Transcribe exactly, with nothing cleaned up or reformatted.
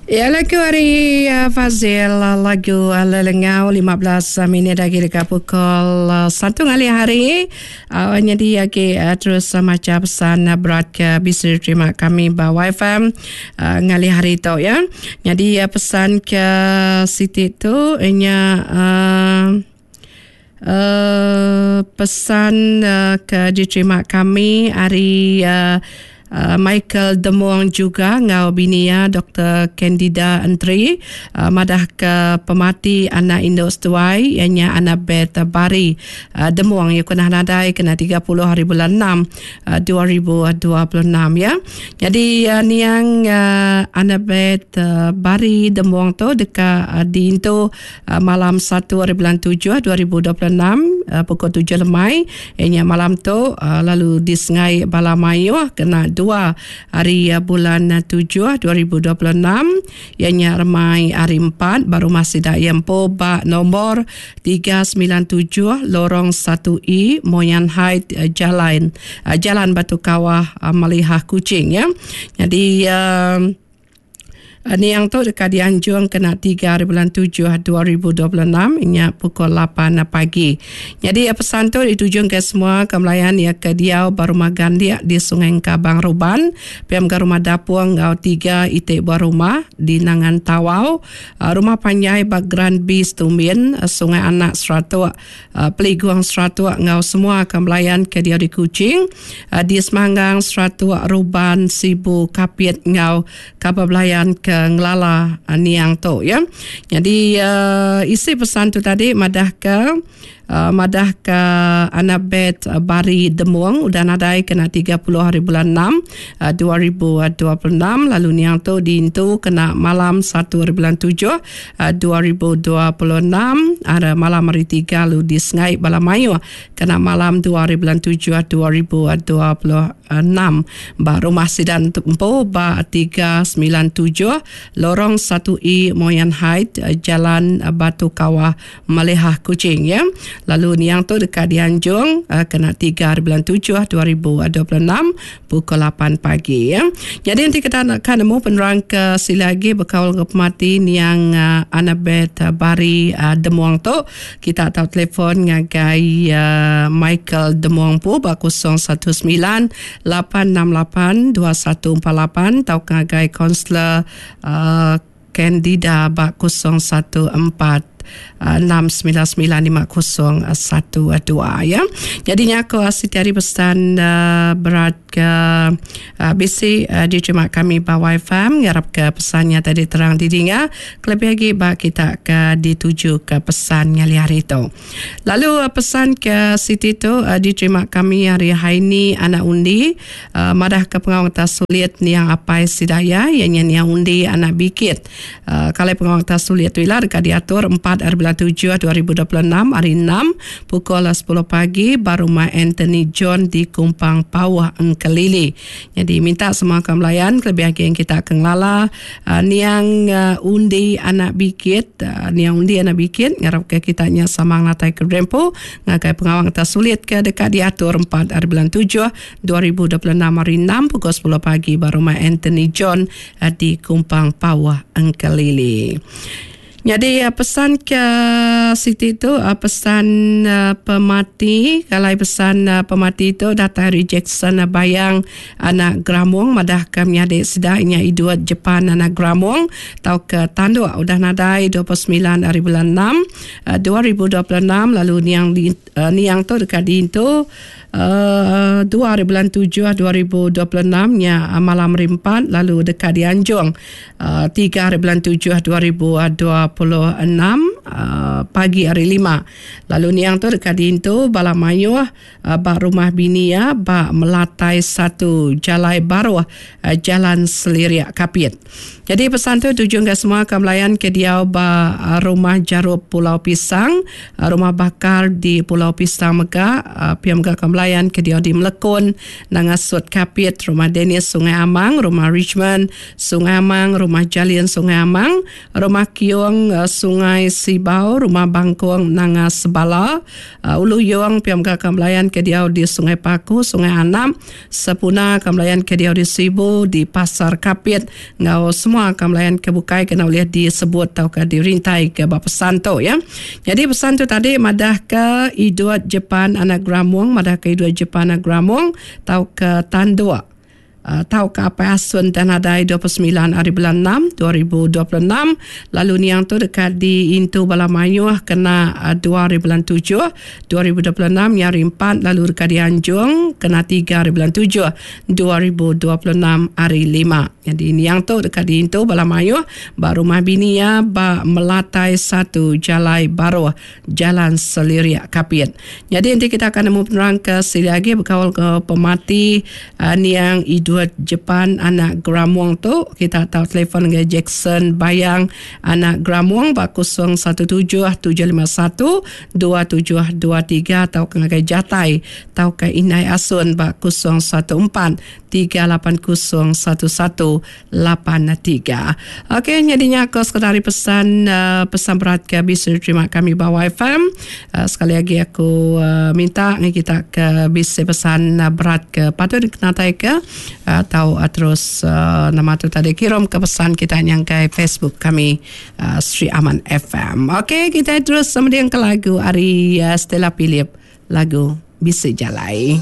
Ya lagu ari Fazil lagu Lelengau lima belas minit agi deka pukul satu ngalih hari nyadi agi terus macha pesan berat ke bisi diterima kami ba Y F M ngalih hari tu ya. Nyadi pesan ke siti tu nya uh, pesan uh, ke diterima kami ari uh, Uh, Michael Demong juga ngau bini ya Doktor Candida Entri uh, madah ke pemati anak induk setuai ianya anak Bet Bari uh, Demong ia kena nadai kena tiga puluh hari bulan enam uh, dua ribu dua puluh enam ya. Jadi uh, niang uh, anak Bet uh, Bari Demong tu deka uh, diintu uh, malam satu hari bulan tujuh dua ribu dua puluh enam uh, pukul tujuh lemai ianya malam tu uh, lalu disengai bala mayuh kena dua hari bulan tujuh dua ribu dua puluh enam ianya remai hari empat baru masih dak empo ba nombor tiga sembilan tujuh lorong satu E Moyan Height Jalan Jalan Batu Kawah Malihah Kuching ya. Jadi uh, niang tu dekat dianjung kena tiga hari bulan tujuh dua ribu dua puluh enam inya pukul lapan pagi. Jadi pesan tu dituju ke semua kemelayan ya ke diau baru rumah gandiak di Sungai Kabang Ruban, P M ke rumah Dapung ngau tiga itik buah rumah di Nangan Tawau, rumah Panjai Bagran B Stumbin, Sungai Anak Seratuk, Peliguang Seratuk ngau semua kemelayan ke diau di Kuching, di Semanggang Seratuk Ruban Sibu Kapit ngau kabar belayan ke ngelala uh, niang tu ya. Jadi uh, isi pesan tu tadi madah ke uh, madah ke anak Bet uh, Bari Demong udah nadai kena tiga puluh hari bulan enam uh, dua ribu dua puluh enam lalu niang tu diintu kena malam satu hari bulan tujuh uh, dua ribu dua puluh enam ada malam hari tiga lalu disengai bala mayuh kena malam dua hari bulan tujuh dua ribu dua puluh enam ba rumah sidan empu ba tiga sembilan tujuh lorong satu E Moyan Height Jalan Batu Kawah Malihah Kuching ya. Lalu niang tu dekat dianjung kena tiga hari bulan tujuh dua ribu dua puluh enam pukul lapan pagi ya. Jadi nanti kita nak kan nemu penerang ke sila lagi berkaul ke pemati niang uh, Annabeth Bari uh, Demuang tu kita tahu telefon ngagai uh, Michael Demuang pu ba kosong satu sembilan lapan enam lapan dua satu empat lapan atau ngagai kaunselor uh, Candida ba kosong satu empat enam sembilan sembilan lima kosong satu dua ya. Jadinya aku Siti hari pesan uh, berat ke uh, B C uh, diterima kami ba Y F M ngarap ke pesannya tadi terang didinga kelebih lagi ba kita ke dituju ke pesan ngali hari itu. Lalu uh, pesan ke Siti tu uh, diterima kami hari Haini anak undi uh, madah ke pengawang tas sulit niang apai sidaya yang niang undi anak bikit. Uh, kalau pengawang tas sulit tu ialah dekat diatur empat hari bulan tujuh dua ribu dua puluh enam hari enam pukul sepuluh pagi baru rumah Anthony John di Kumpang Pawah Engkelili. Jadi minta semua kemelayan kelebih lagi yang kita akan ngelala uh, niang uh, undi anak bikit uh, niang undi anak bikit ngarap ke kita nya sama ngatai ke rempo ngagai pengawang tak sulit ke dekat diatur empat hari bulan tujuh dua ribu dua puluh enam hari enam pukul sepuluh pagi baru rumah Anthony John uh, di Kumpang Pawah Engkelili. Jadi pesan ke Siti itu pesan pemati kalau pesan pemati itu datang dari Jackson Bayang anak Gramong madah kami adik sedaknya iduat Jepan anak Gramong tau ke tanduk udah nadai dua puluh sembilan hari bulan enam dua ribu dua puluh enam lalu niang niang tu dekat diintu Uh, dua hari bulan tujuh dua ribu dua puluh enam nya malam hari empat lalu dekat di Anjung uh, tiga hari bulan tujuh dua ribu dua puluh enam uh, pagi hari lima lalu niang tu dekat diintu bala mayuh uh, bak rumah bini ya bak Melatai satu Jalai Baruh uh, Jalan Seliriak Kapit. Jadi pesan tu tujuan ke semua kemelayan ke diau ba rumah Jarup Pulau Pisang, rumah bakar di Pulau Pisang Mega, pihak mega kemelayan ke diau di Melekon, Nangasut Kapit, rumah Dennis Sungai Amang, rumah Richmond Sungai Amang, rumah Jalian Sungai Amang, rumah Kiong Sungai Sibu Sibau, Rumah Bangkong Nanga Sebala, Ulu Yong, pia mega kaban belayan ke diau di Sungai Paku, Sungai Anap, Sepuna, kaban belayan ke diau di Sibu, di Pasar Kapit enggau semua kaban belayan ke bukai ke enda ulih disebut tauka dirintai ke ba pesan tu ya. Nyadi pesan tu tadi madahka Edward Jepan anak Gramong, madahka Edward Jepan anak Gramong tauka Tanduk tauka Apai Asun tang nadai dua puluh semilan ari bulan enam dua ribu dua puluh enam lalu niang tu deka diintu bala mayuh kena dua ari bulan tujuh dua ribu dua puluh enam nya hari empat lalu deka dianjung kena tiga ari bulan tujuh dua ribu dua puluh enam hari lima. Jadi niang tu deka diintu bala mayuh ba rumah bini iya ba Melatai satu Jalai Baruh Jalan Selirik Kapit. Jadi enti kita akan nemu penerang ke silik agi bekaul ke pemati uh, niang Edward Jepan anak Gramong tu, kita tahu telefon dengan Jackson Bayang anak Gramong ba kosong satu tujuh tujuh lima satu dua tujuh dua tiga atau ke ngagai Jatai tau ke Inai Asun ba kosong satu empat tiga lapan kosong satu satu lapan tiga. Okey, jadinya aku sekadar pesan uh, pesan berat ke bisa terima kami ba Y F M. Uh, sekali lagi aku uh, minta ni kita ke bisa pesan uh, berat ke patut dikenatai ke atau uh, terus uh, nama tu tadi kirim ke pesan kita yang ke Facebook kami uh, Sri Aman F M. Okey, kita terus kemudian ke lagu ari uh, Stella Philip, lagu Bisa Jalai.